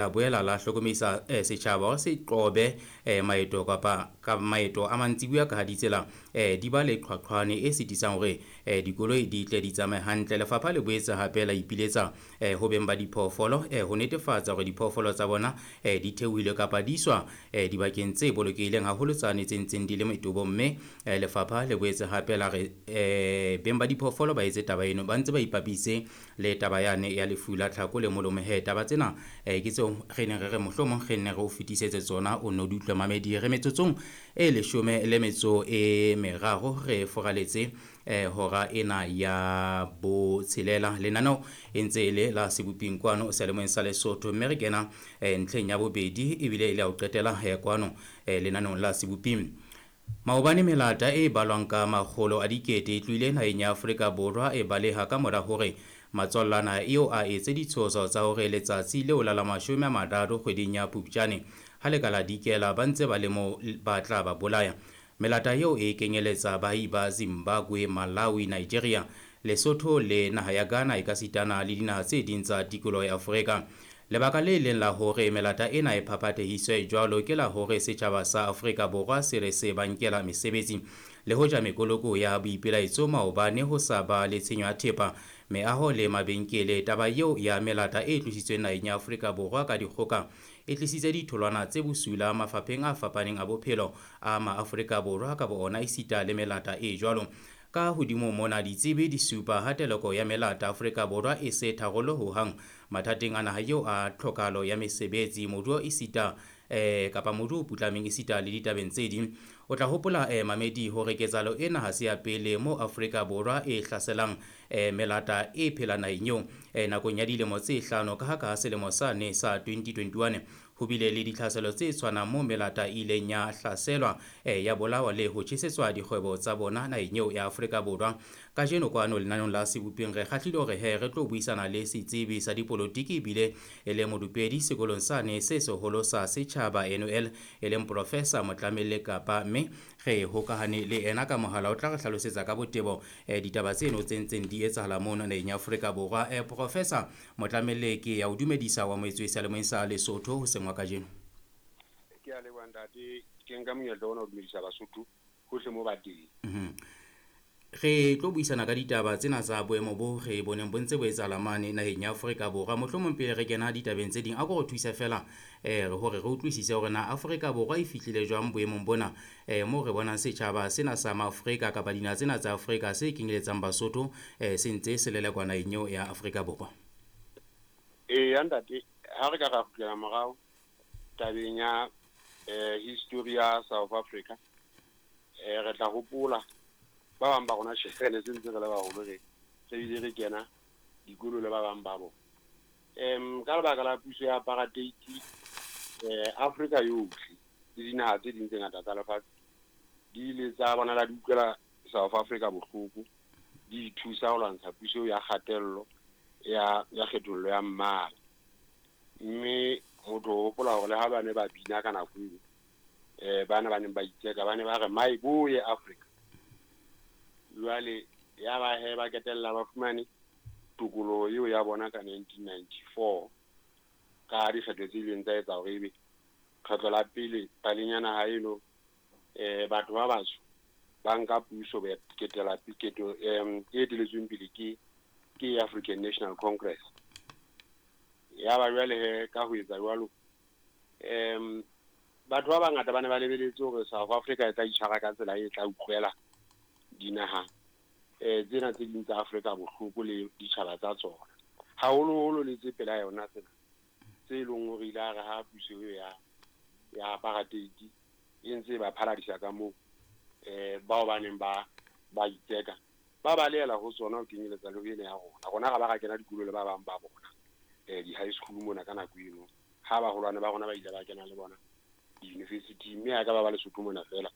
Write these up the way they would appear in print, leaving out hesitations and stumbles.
La boela la hlokomedisa setjhaba hore se qobe maeto kapa ka maeto a mantsibuya ka ha ditsela di ba le qhwaqhwane e sitisang hore dikoloi di tle di tsamaye hantle. Lefapha le boetse hape la ipiletsa ho beng ba diphoofolo ho netefatsa hore diphoofolo tsa bona di theohile kapa di iswa dibakeng tse bolokehileng haholo tsane tse ntseng di le metobong. Mme lefapha le boetse hape la re beng ba diphoofolo ba etse taba eno ba ntse ba ipapise le taba yane ya lefu la tlhako le molomo. He taba tsena ke tseo re neng re re mohlomong re nne re o fetisetse tsona, o nno di utlwe mamedi. Re metsotsong e 13 re foraletse hora ena ya botshelela. Lenaneo e ntse e le la Seboping kwano seyalemoyeng sa Lesotho, mme re kena ntlheng ya bobedi ebile e le ya ho qetela kwano lenaneong la Seboping. Maobane melata e balwang ka makgolo a dikete e tlohile naheng ya Afrika Borwa e baleha ka mora hore matswallana eo a etse ditshoso tsa hore letsatsi leo la la 30 kgweding ya Phupjane ha le ka la dikela ba ntse ba le mo ba tla ba bolaya. Melata eo e kenyeletsa baahi ba Zimbabwe, Malawi, Nigeria, Lesotho le naha ya Ghana ekasitana le dinaha tse ding tsa tikoloho ya Afrika. Lebaka le leng la hore melata ena e phaphathehiswe jwalo ke la hore setjhaba sa Afrika Borwa se re se ba nkela mesebetsi. Le hoja mekoloko ya boipelaetso maobane ho sa ba le tshenyo ya thepa, meaho le mabenkele, taba eo ya melata e tlositsweng naheng ya Afrika Borwa ka dikgoka e tlisitse ditholwana tse bosula mafapheng a fapaneng a bophelo a maAfrika Borwa ka bo ona esita le melata e jwalo. Ka hodimo mona ditsebi di supa ha teleko ya melata Afrika Borwa e se tharollo ho hang mathateng a naha eo a tlhokahalo ya mesebetsi, moruo esita kapa moruo o putlameng esita le ditabeng tse ding. O tla hopola mamedi hore ketsahalo ena ha se ya pele mo Afrika Borwa e hlaselang melata e phelang naheng eo nakong ya dilemo tse 5 ka ha ka selemo sane sa 2021 ho bile le ditlhaselo tse tshwanang mo melata e ileng ya hlaselwa ya bolawa le ho tjhesetswa dikgwebo tsa bona naheng eo ya Afrika Borwa. Kajeno kwano lenaneong la Seboping re kgahlile hore he re tlo buisana le setsebi sa dipolotiki ebile e le modupedi sekolong sane se seholo sa setjhaba NUL e leng Professor Motlamelle Kapa, mme re hokahane le ena ka mohala o tla re hlalosetsa ka botebo ditaba tseno tse ntseng di etsahala mono naheng ya Afrika Borwa. Professor Motlamelle, ke ya o dumedisa wa moetswe seyalemoyeng sa Lesotho hoseng wa kajeno. Ke a leboha ntate, ke nka monyetla ona ho dumedisa Basotho hohle mo ba teng. Re tlo buisana ka ditaba tsena tsa boemo bo re boneng bo ntse bo etsahala mane naheng ya Afrika Borwa. Mohlomong pele re kena ditabeng tse ding, a ko re thuse fela hore re utlwisise hore na Afrika Borwa e fihlile jwang boemong bona moo re bonang setjhaba sena sa Maafrika kapa dinaha tsena tsa Afrika se kenyeletsang Basotho se ntse se lelekwa naheng eo ya Afrika Borwa. Eya ntate, ha re ka ra kgutlela morao tabeng ya history ya South Africa, re tla hopola ba bang ba rona tjhe re ne se ntse re le baholo, re bile re kena dikolo le ba bang ba bona. Ka lebaka la puso ya apartheid, Afrika yohle le dinaha tse ding tse ngata tsa lefatshe di ile tsa bonala di utlwela South Africa bohloko, di ithusa ho lwantsha puso ya kgatello ya kgethollo ya mmala. Mme motho o hopola hore le ha ba ne ba bina ka nako eo, bana ba neng ba itseka ba ne ba re my boy Africa. Jwale ya ba he ba ketella ba fumane tokoloho eo ya bona ka 1994 ka dikgetho tse ileng tsa etsa hore ebe kgetlo la pele paleng ya naha eno batho ba batsho ba nka puso ketela keto e eteletsweng pele ke African National Congress. Ya ba jwale he ka ho etsa jwalo, batho ba bangata ba ne ba lebeletse hore South Africa e tla itshwara ka tsela e tla utlwela dinaha tsena tse ding tsa Afrika bohloko le ditjhaba tsa tsona, haholoholo le tse pela yona tsena tse leng hore ile a re ha puso eo ya apartheid e ntse ba phaladisa ka moo, bao ba neng ba itseka ba balehela ho tsona ho kenyeletsa le ho ena ya rona. Rona ra ba ra kena dikolo le ba bang ba bona di-high school mona ka nako eno, ha baholwane ba rona ba ile ba kena le bona di-university, mme ha ka ba ba Lesotho mona fela,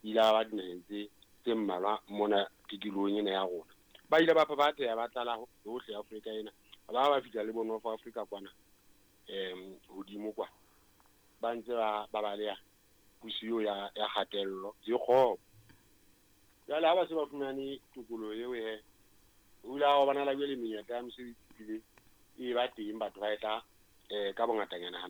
ile ba dinaheng tse mmalwa mona tikolohong ena ya rona. Ba ile ba phaphatheha ba tlala hohle Afrika ena, ba fihla le bo North Africa kwana hodimo kwa, ba ntse ba baleha puso eo ya kgatello e kgopo. Jwale ha ba se ba fumane tokoloho eo he, o ile wa bona la jwale menyetla ya mosebetsi ebile e ba teng, batho ba etla Ka bongatanyana.